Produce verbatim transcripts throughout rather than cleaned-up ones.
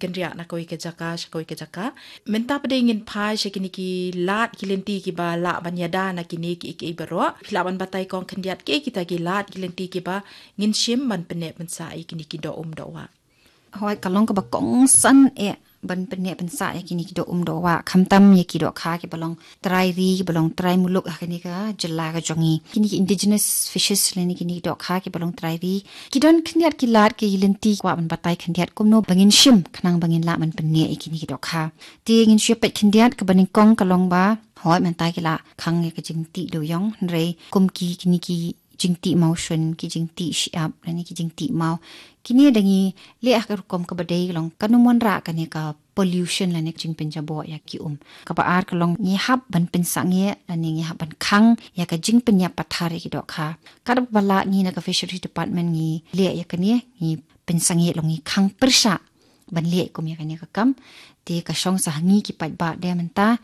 kynriah na kawei ka jaka sha kawei ka jaka. Mynta pat de ngin phai sha kine ki lad ki lynti kiba lah ban ïada na kine kiei kiei baroh. Phi lah ban batai kong khyndiat kiei kita ki lad ki lynti kiba ngin shim ban pynneh pynsah ïa kine ki doh um doh wah. Hooid, ka long kaba kongsan eh ban pynneh pynsah ïa kine ki doh um doh wah, khamtam ïa ki dohkha kiba long trai ri, kiba long trai muluk ha kane ka jylla ka jong ngi. Kine ki indigenous fishes lane kine ki dohkha kiba long trai ri, ki don khyndiat ki lad ki lynti. Kwah ban batai khyndiat kumno ba ngin shim khnang ba ngin lah ban pynneh ïa kine ki dohkha. Te ngin shu peit khyndiat, kaba nyngkong ka long ba, hooid, mynta ki la khang ïa ka jingtih dewïong, hynrei kum ki, kine ki jingtih mawshun, ki jingtih shyiap lane ki jingtih maw, kine da ngi leh ha ka rukom kaba dei, long kan ym wanrah kane ka pollution lane ka jingpynjaboh ïa ki um. Kaba ar ka long ngi hap ban pynsangeh lane ngi hap ban khang ïa ka jingpynïap pathar ïa ki dohkha. Katba lah ngi na ka Fisheries Department ngi leh ïa kane, ngi pynsangeh, long ngi khang pyrshah ban leh kum ïa kane ka kam. Te ka shong sa ha ngi ki paidbah de mynta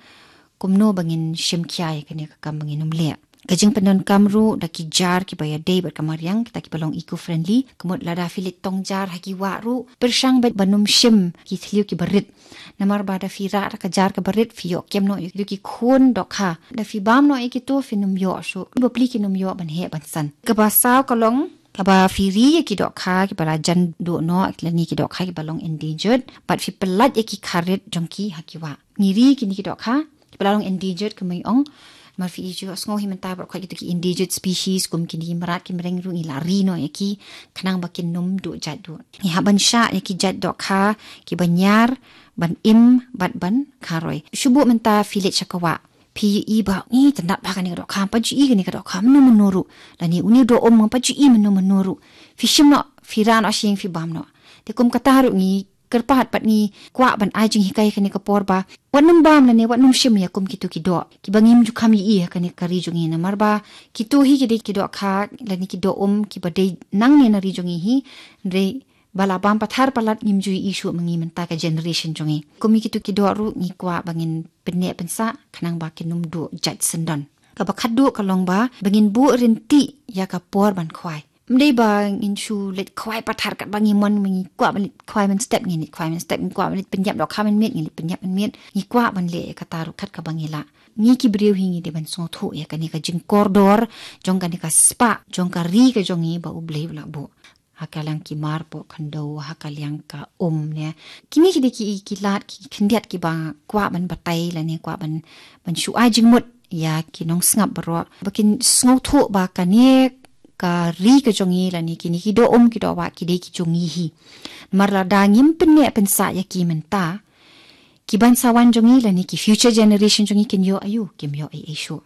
kumno ba ngin shim khia ïa kane ka kam ba ngin ym leh. Ka jingpyndonkam ruh da ki jar kiba ïadei bad ka mariang, kita kiba long eco friendly. Ka mut lada phi leit tong jar ha ki wah ruh, pyrshang bad ban ym shim ki thliew kiba rit. Namar ba da phi rah da ka jar kaba rit, phi ïoh kem noh ïa ki khun dohkha. Da phi bam noh ïa kito, phin ym ïoh shuh. Ki bapli kin ym ïoh ban heh ban san. Kaba saw ka long, kaba phi ri ïa ki dohkha kiba la jan duh noh lane ki dohkha kiba long endangered, bad phi pyllait ïa ki kharit jong ki ha ki wah. Ngi ri kine ki dohkha kiba la long endangered, kumba ngi ong. Namar phi ïohsngew hi mynta baroh khoit kito ki endangered species kum kine ki mrad ki mreng ruh ngi la ri noh ïa ki khnang ba kin ym duh jait duh. Ngi hap ban shah ïa ki jait dohkha kiba ñiar ban im bad ban kharoi. Shu buh mynta phi leit sha ka wah, phi ïohi ba, "Ngi tyndap bha kane ka dohkha, ngam pat ju i kane ka dohkha mynno mynno ruh, lane une u doh um ngam pat ju i mynno mynno ruh." Phi shim noh, phi rah noh sha ïing, phi bam noh. Te kum kata ruh ngi kyrpad bad ngi kwah ban ai jinghikai ha kane ka por ba wat nym bam lane wat nym shim ïa kum kito ki doh kiba ngim ju kham ïohi ha kane ka ri jong ngi. Namar ba kito hi ki dei ki dohkha lane ki doh um kiba dei nangne na ri jong ngi hi, hynrei ba la bam pathar palat ngim ju ïohi shuh ma ngi mynta ka generation jong ngi. Kum ïa kito ki doh ruh ngi kwah ba ngin pynneh pynsah khnang ba kin ym duh jait syndon. Kaba khatduh ka long ba, ba ngin buh ryntih ïa ka por ban khwai. Ym dei ba ngin shu leit khwai pathar katba ngi mon, ma ngi kwah ban leit khwai mynstep ngin leit khwai mynstep, ngi kwah ban leit pynïap dohkha mynmiet ngin leit pynïap mynmiet. Ngi kwah ban leh ïa kata ruh kat kaba ngi lah. Ngi ki briew hi ngi dei ban sngewthuh ïa kane ka jingkordor jong kane ka spah jong ka ri ka jong ngi ba U Blei u la buh ha ka liang ki mar poh khyndew, ha ka liang ka um ne. Kine ki dei ki, ki lad ki khyndiat kiba kwah ban batai lane kwah ban, ban shu ai jingmut ïa ki nongsngap baroh ba kin sngewthuh ba kane ka ri ka jong ngi lane kine ki doh um ki doh wah ki dei ki jong ngi hi. Namar lada ngim pynneh pynsah ïa ki mynta, ki ban sa wan jong ngi lane ki future generation jong ngi kin ïoh aïu? Kim ïoh ei ei shuh.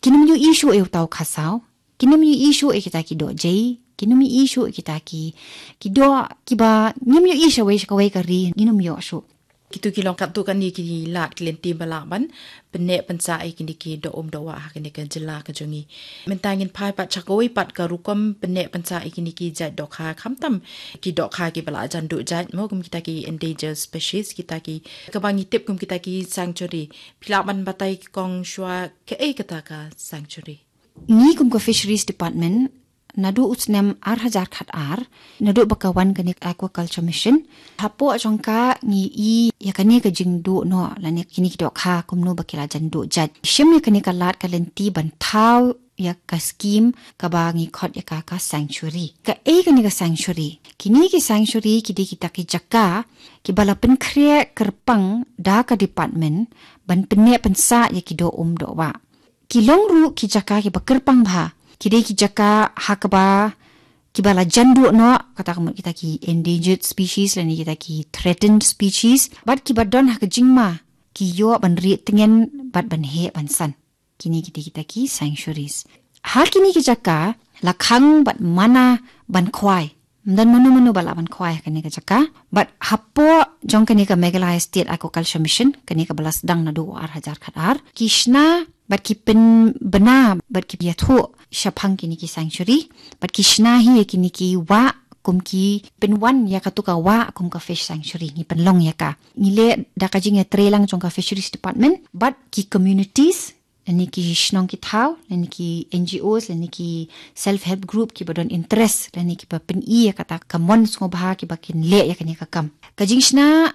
Kin ym ïohi shuh ïa uta u khasaw. Kin ym ïohi shuh ïa kita ki doh jei. Kin ym ïohi shuh ïa kita ki, ki doh kiba ngim ïohi sha kawei sha kawei ka ri, ngin ym ïoh shuh. Kito ki long katto katne ki lad ki lynti ba lah ban pynneh pynsah ïa kine ki doh um doh wah ha kane ka jylla ka jong ngi. Mynta ngin phai pat sha kawei pat ka rukom pynneh pynsah ïa kine ki jait dohkha, khamtam ki dohkha kiba la jan duh jait mo, kum kita ki endangered species, kita ki, kaba ngi tip kum kita ki sanctuary. Phi lah ban batai kong shuwa kaei kata ka sanctuary? Ngi kum ka Fisheries Department, naduh u snem ar hajar khat ar, naduh ba ka wan kane ka Aquaculture Mission, hapoh jong ka ngi i ïa kane ka jingduh noh lane kine ki dohkha kumno ba ki la jan duh jait. Shim ïa kane ka lad ka lynti ban thaw ïa ka scheme kaba ngi khot ïa ka ka sanctuary. Kaei kane ka sanctuary? Kine ki sanctuary ki dei kita ki jaka kiba la pynkhreh kyrpang da ka department ban pynneh pynsah ïa ki doh um doh wah. Ki long ruh ki jaka kiba kyrpang bha. Ki dei ki jaka ha kaba, kiba la jan duh noh, kata ka mut kita ki endangered species lane kita ki threatened species, bad kiba don ha ka jingma ki ïoh ban rieh tngen bad ban heh ban san. Kine ki dei kita ki sanctuaries. Ha kine ki jaka la khang bad mana ban khwai. Ym don mano mano ba lah ban khwai ha kane ka jaka. Bad hapoh jong kane ka Meghalaya State Aquaculture Mission, kane kaba la sdang naduh u ar hajar khat ar, ki shna bad ki pynbna bad ki ïathuh shaphang kine ki sanctuary. Bad ki shna hi ïa kine ki wah kum ki pynwan ïa katu ka wah kum ka fish sanctuary, ngi pynlong ïa ka. Ngi leh da ka jingïatreilang jong ka Fisheries Department bad ki communities, lane ki shnong ki thaw, lane ki N G Os, lane ki self help group kiba don interest, lane kiba pyni ïa kata ka mon sngewbha kiba kin leh ïa kane ka kam. Ka jingshna